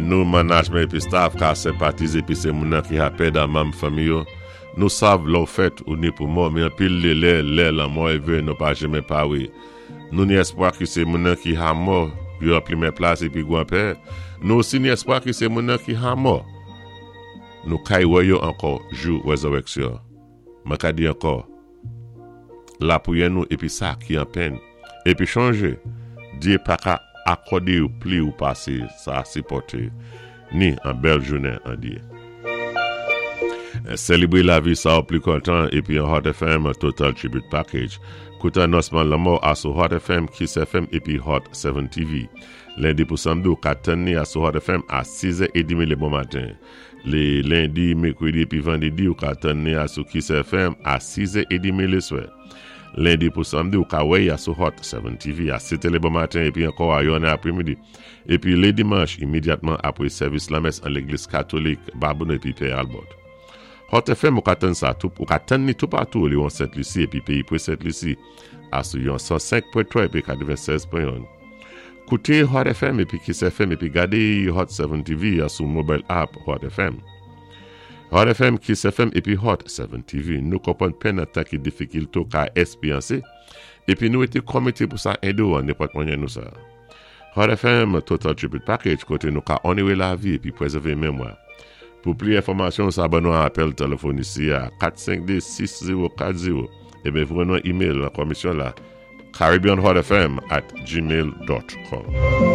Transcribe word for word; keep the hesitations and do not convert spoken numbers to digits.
Nou manajmen épi staff ka senpatizé épi sé moun ki ha pèd an manm fanmi yo. Nou sav lè ou fèt ou ni pou mò, men anpil lé lè, lè lanmò évé nou pa janmen pawé. Nou ni espwa ki sé moun ki ha mò, yo an pwémyé plas épi gwanpè. Nou osi ni espwa ki sé moun ki ha mò. Nou kay wè yo ankò jou wézirèksyon. Mwen ka di ankò, lapriyè nou épi sa ki an pèn. Épi chonjé, Dye pa ka akòdé ou pli ou pasé sa sipòté, ni an bèl jounen an Dye. Sélébré lavi sa ou pli kontan épi an Hot F M Total Tribute Package. Kouté anonsman lanmò asou Hot F M, Kiss F M épi Hot sèt T V. Lendi pou samdi ou ka tann ni asou Hot F M a sis è trant lé bon maten. Lé lendi, mèkwédi épi vandédi ou ka tann ni asou Kiss F M a sis è trant lé swè. Lendi pou samdi ou ka wè asou Hot sèt T V a sèt lé bon maten épi ankò a yonnè apwémidi. Épi lé dimanch imédyatman apwé sèvis lamès an légliz katolik Babonneau épi Pè Albert. Hot F M ou ka tann sa tou, ou ka tann ni tou patou li an Sent Lisi épi péyi pwé Sent Lisi asou yon san senk pwen twa épi katwennsèz pwen youn. Kouté Hot F M épi Kiss F M épi gadé Hot sèt T V asou mobile app Hot F M. Hot F M, Kiss F M épi Hot sèt T V. Nou konpwann pèn an tan ki difikilté ou ka éspéryansé épi nou été komité pou sa édé ou an nenpòt mwanyen nou sa. Hot F M Total Tribute Package koté nou ka onoré lavi épi pwézèvé mémwa. Pou pli enfòmasyon, sa ban nou an apèl téléfòn isi a kat senk de, sis zewo kat zewo é voyé nou email nan komisyon la caribbeanhotfm at gmail dot com.